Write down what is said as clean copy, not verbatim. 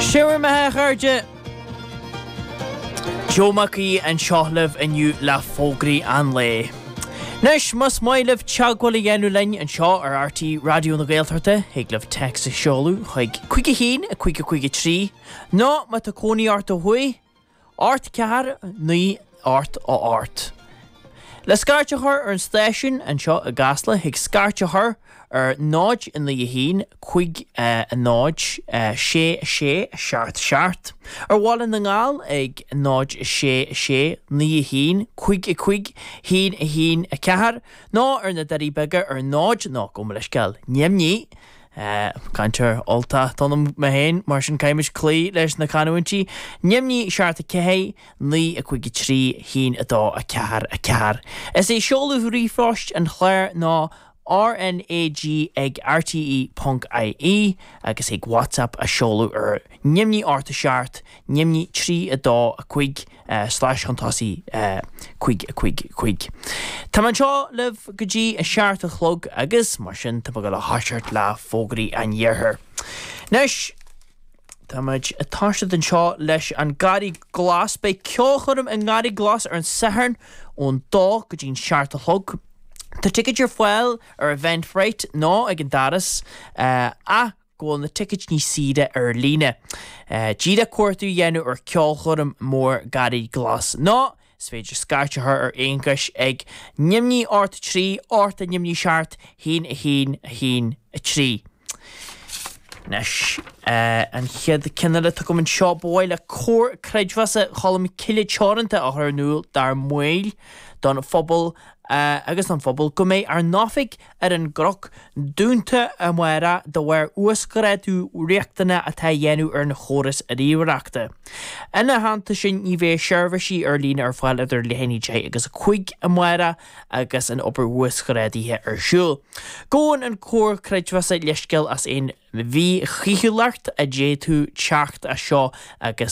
Sin bhur mbeatha, a chairde! Joe Mac Aoidh anseo libh inniu le fógraí an lae. Anois, más maith libh teagmháil a dhéanamh linn anseo ar RTÉ Raidió na Gaeltachta, thig libh téacs a sheoladh chuig 5 1 5 5 3, nó má tá cónaí ort ó thuaidh, 8 4 9 8 8. Le scairt a chur ar an stáisiún anseo i gCasla thig scairt a chur ar 0 9 1 5 0 6 6 7 7, ar Bhaile na nGall ag 0 6 6 9 1 5 5 1 1 4 nó ar na Doirí Beaga ar 0 nó gabh mo leithscéal, Neimní. Cainteoir Ultach atá ionam mé féin, mar sin caithfimid cloí leis na canúintí. Neimní 7 4 9 5 3 1 2 4 4. Is é seoladh ríomhphoist an chláir ná RnaG ag rte ponc ie agus thig WhatsApp a sheoladh ar neimní 8 7 neimní 3 2 5 slais chun tosaigh 5 5 5. Tá mé anseo libh go dtí a seacht a chlog agus mar sin tá mé ag dul a thoiseacht le fógraí an iarthair. Anois tá muid ag toiseacht anseo leis an Garraí Glas. Beidh ceolchoirm i nGarraí Glas ar an Satharn ón dó go dtí'n seacht a chlog. Tá ticéid ar fáil ar Eventbrite nó ag an doras ach go bhfuil na ticéid níos saoire ar líne. Díreach cuartú a dhéanamh ar Ceolchoirm Mór Garraí Glas nó is féidir scairt a chur ar Aonghus ag neimní 8 3 8 neimní 7 1 1 1 3. Anois, an chéad ceann eile atá agam anseo, ba mhaith le Comhar Creidmheasa Cholm Cille Teoranta a chur in iúl dár mbaill, don phobal agus don phobal go mbeidh ár n-oifig ar an gCnoc dúnta amárach de bharr uasghrádú riachtanach atá á dhéanamh ar an chóras ríomhaireachta. Ina theannta sin, ní bheidh seirbhísí ar líne ar fáil idir leath i ndiaidh 10 agus 5 amárach agus an obair uasghrádaithe ar siúl. Gabhann an Comhar Creidmheasa leithscéal as aon mhíchaoithiúlacht a d'fhéadfadh teacht as seo agus.